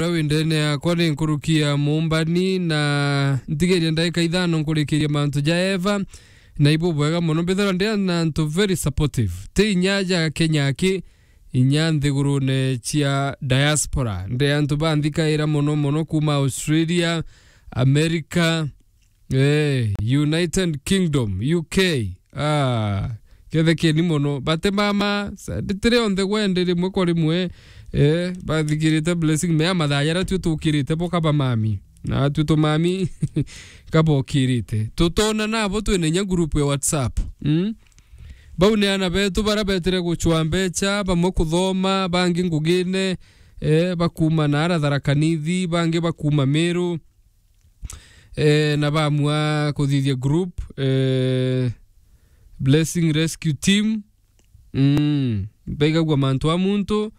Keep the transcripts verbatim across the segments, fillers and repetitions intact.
uria wi ndene yakwa ni nkuruki ya Mumbani, na ntigeria ndaika ithano nkurikirie mantu ja Eva, na ibu bwega mono. Mbithirwa ndi na antu very supportive. Ti inya ja Kenya aki, inya nthigurune cia diaspora. Ndi antu banthikaira mono mono kuma Australia, America, eh, United Kingdom, U K. Ah, kethekeni mono. Bate mama, sa-, nditire onthe gwende rimwe kwa rimwe, eh, bathikirite Blessing mea mathaa jaria tui tukirite bo kaba mami. Na tui tumami kabokirite. Tutona nabo twina inya group ya WhatsApp. Mm? Bau ni ana betu bara betire gucwa mbecha, bamwe kuthoma, bangi ngugine, eh, bakuma na ara Tharaka Nithi, bangi bakuma Meru, eh, na bamua kuthithia group, eh, Blessing Rescue Team. Mm, baigagua mantu a muntu,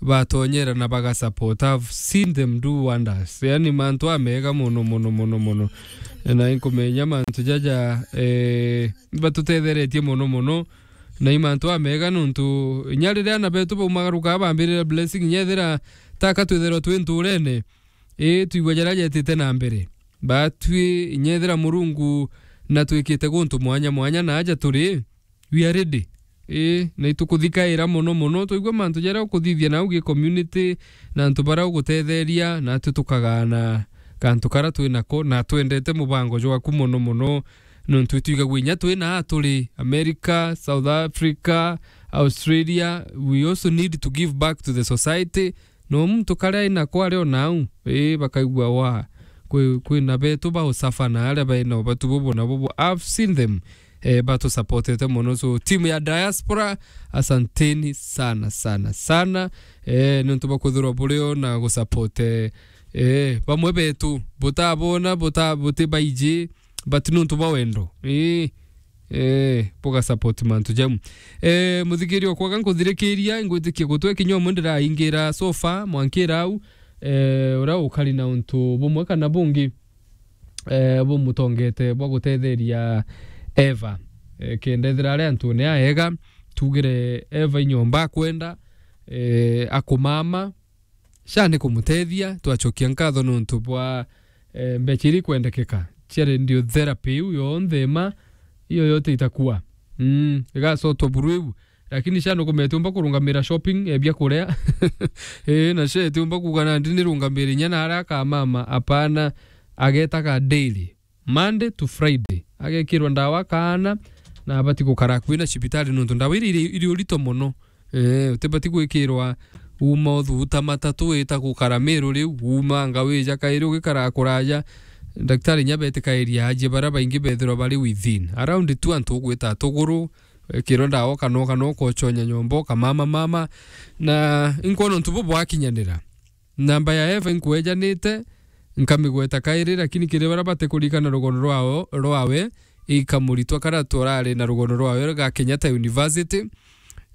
batonyera na baga support. I've seen them do wonders. Yani mantu a mega mono, mono, mono, mono. Na inkumenya mantu jaja, eh, batutetheretie mono, mono. Na i mantu a mega nontu inya riria ana betu baumagaruka bambirira Blessing, inya ethira taka twitherwa twi nturene, ii, twigua jaria jetite na mbere. Batwi, inya ethira Murungu na twikite guntu mwanya mwanya na aja turi, we are ready. Ii, na itukuthikaira mono mono, twaigua mantu jaria ukuthithia nau gi community, na antu baria ugutetheria, na atwi tukagaana kantu karia twi nako, na twendete mubango jwaku mono mono, nontu itwigagua inya twi na turi America, South Africa, Australia. We also need to give back to the society. No muntu karia ainako ari o nau, ii, bakaigua wa, kwi, kwina betu ba usafa na aria baina ubatu bubu na bubu. I've seen them, eh, batu supportete mono. So, team ya diaspora, asanteni sana, sana, sana. Eh, nontu bwa kwithirwa buri o na gu support, eh, eh, bamwe betu, butabona, buta-, buti baiji, but nontu bwa wendo. Ii, eh, buga support mantu jau. Eh, muthikiri okwa ga nkuthirikiria, ingwitikia gutwe kinya umwe ndiraingira so far, mwankira au, eh, uria ukari na untu bumwe kana bungi, eh, bumutongete bwa gutetheria Eva. Eh, kenda ethira ari antune aega, tugire Eva inyomba akwenda, eh, akumama, sha ni kumutethia, twacokia nkatho nontu bwa, eh, mbecha iria ikwendekeka cia radiotherapy iu yonthe ima, iyo yote itakua. Mm, igacotwa buru iu. Lakini sha nukumea itiumba kurungamira shopping, eh, bia kuria. Eh, na sha itiumba kuuga nandi nirungamire inya na aria akamama, apana, agetaga daily. Monday to Friday. Agekirwa ndawa kaana, na abati gukara akui na cibitari nontu ndawa iria iri, iri urito mono. Eh, utibati gwikirwa uma uthuta matatu wita gukara Meru riu, uma anga wija kairi ugikara kuraja. Daktari inya betikairia ajie baria baingi bethirwa bari within. Around tu antu ugwita tuguru, wekirwa ndawa kana, kana ukochonya nyomba, ukamama mama. Na inkwona untu bubu bwakinyanira. Namba ya Eva inkwejanite, nkamigweta kairi, lakini kiri baria batikurikana rugono rwao, rwawe, ikamuritwa karia turari na rugono rwawe ga Kenyatta University,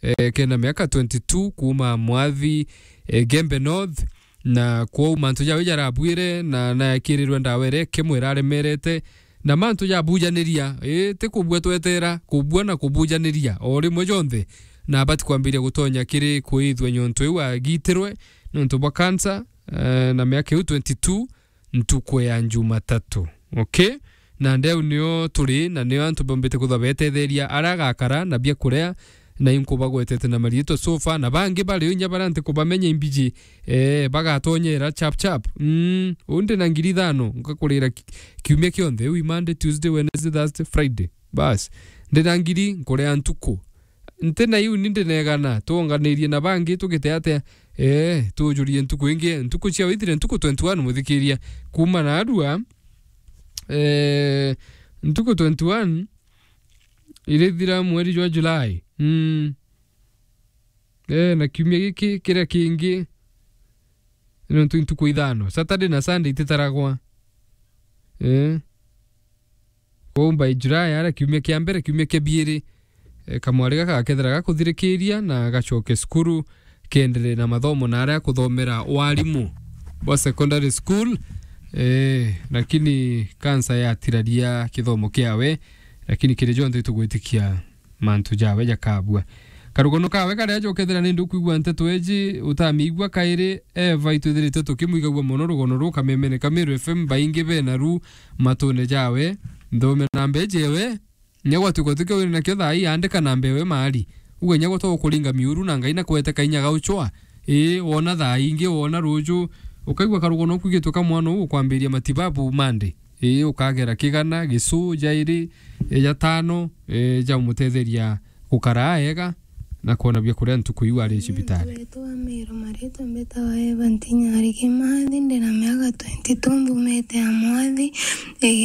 eh, kena miaka twenty-two, kuuma Mwathi, eh, Gembe North, na kwou mantu jawe jarabwire, na naekirirwe ndawa iria ikimwe iraremerete, na mantu jabujaniria, ii, ti kubua twetera, kubua na kubujaniria o rimwe jonthe, na abati kwambiria gutonya kiri kuithua nyontu iu agitirwe nontu bwa cancer, eh, na miaka iu twenty-two, ntuku ya Jumatatu. Okay? Na ndeu nio turi, na nio antu bombite kwithwa betetheria aria agakara na bia kuria, na inkubagwetete na mariitwa so far, na bangi bari o inya baria ntikubamenya imbiji, eh, bagatonyera chap chap. Mm, uu ndi na ngiri ithano, nkakurira ki-, kiumia kionthe, iu i Monday, Tuesday, Wednesday, Thursday, Friday. Bas, ndi na ngiri, nkuria ntuku. Nti na iu ni ndinegana, twonganirie na bangi tugite atia? Eh, tujurie ntuku ingi, ntuku cia withire ntuku twenty-one, muthikiria, kuuma narua, eh, ntuku twenty-one, irithira mweri jwa July. Mm. Eh, na kiumia giki, kiria kingi, nontu ntuku ithano. Saturday na Sunday ititaragwa. Eh. Kwou by July, aria kiumia kia mbere, kiumia kia biiri, eh, kamwari gaka gakethira gakuthirikiria na gacoke cukuru, kiendelee na mathomo na aria akuthomera warimu bwa secondary school. Eh, lakini cancer yatiraria kithomo kiawe, lakini kiri jonthe tugwitikia mantu jawe jakabua. Karugono kawe karia jokethira ni ndukwigua nteto eji, utamiigua kairi, Eva itwithirite tukimwigagua mono rugono ruu kamemene ka Meru F M, baingi bena ru matune jawe, nthume namba eji ewe, nyagwatuka tukio wina nakio thaa ii, andika namba ewe maari. Uge nyagwa to kuringa miuru na Ngai na kwete kainya gauchwa. Ii, wona thaa ingi, wona ruju, ukaigua karugono kwigitwe ka mwana uu ukwambiria matibabu Monday. Ii, ukagera kigana, gicu, jairi, e, jatano, e, ja umutetheria gukara ega na kwona bia kuria ntuku iu ari cibitari. Muntu wetu wa Meru maritwa mbetawa Eva Ntinyari Kimathi, ndina miaka twenty-two, mbumite ya Mwathi,